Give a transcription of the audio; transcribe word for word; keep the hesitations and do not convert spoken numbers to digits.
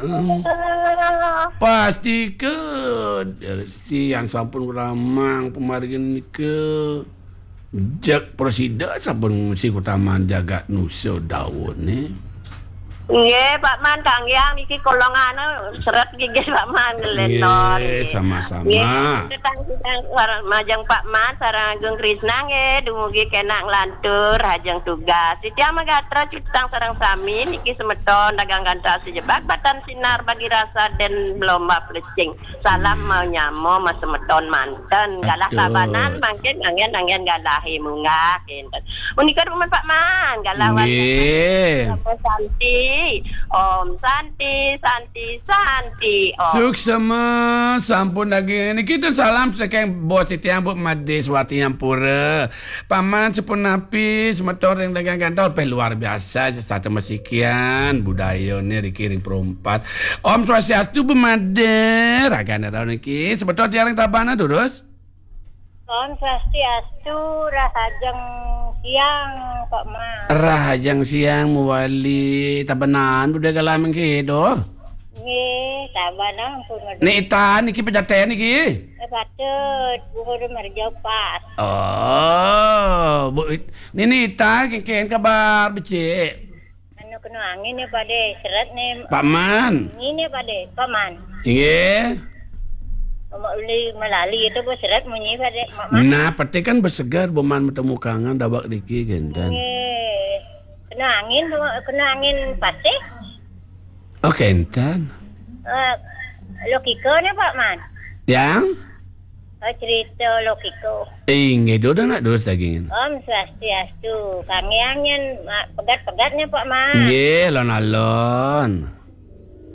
Em, pasti ke, eh, siang sampun ramang pamargin nika. Jeg prasida sampun mesti kutaman jagat nusa daun ni. Nggih, Pak Man, kanggiang niki kolongane seret gigih Pak Man ngelenon. Nggih, sama-sama. Nggih, tetang sidang war-, majeng Pak Man sareng Agung Krisna nggih, dumugi kenak nglantur hajeng tugas. Titiang magatra cutang sareng sami niki semeton dagang gantah sejebak batan sinar bagi rasa den belomba pelecing. Salam mau nyamo mas semeton manten. Galah Aduh. Tabanan mangkin anggen-anggen galahe munggah kinten. Punika dumun Pak Man, galah Nggih. Wali Santi. Om Santi, Santi, Santi. Om. Suksema sampun daging niki ten salam saking bos titiang Bu Madis Wati Ampura. Paman sapunapi semeton ring dagang gantah peh luar biasa sesata masikian budayane riki ring Perumpat. Om Swastiastu Bu Madis, ragane rau niki semeton tiang ring Tabanan durus. Om Swastiastu, rahajeng siang Pak Man. Rahajeng siang mawali Tabanan budaya galah mengke doh. Nggih, Tabanan pun. Ni itan niki pejaten niki. Eh, patut, Bu Guru Merjo pas. Oh, Bu, nini ita kengken kabar becik. Anu kena angin ya pade, seret ni. Pak Man. Angin ya pade, Pak Man. Inggih. Mak uli melali itu bu seret munyi pade, Mak Man. Nah, peti kan bersegar, Bu Man bertemu kangen, dawak diki genten. Nggih. Kena angin, Bu, kena angin pasih. Oh, kenten. Eh, logika ni, Pak Man. Yang? Oh, cerita logika. Inggih, duduk nak durus daging. Om Swastiastu. Kanggiang nyen, ma-, pegat-pegatnya, Pak Man. Nggih, alon-alon.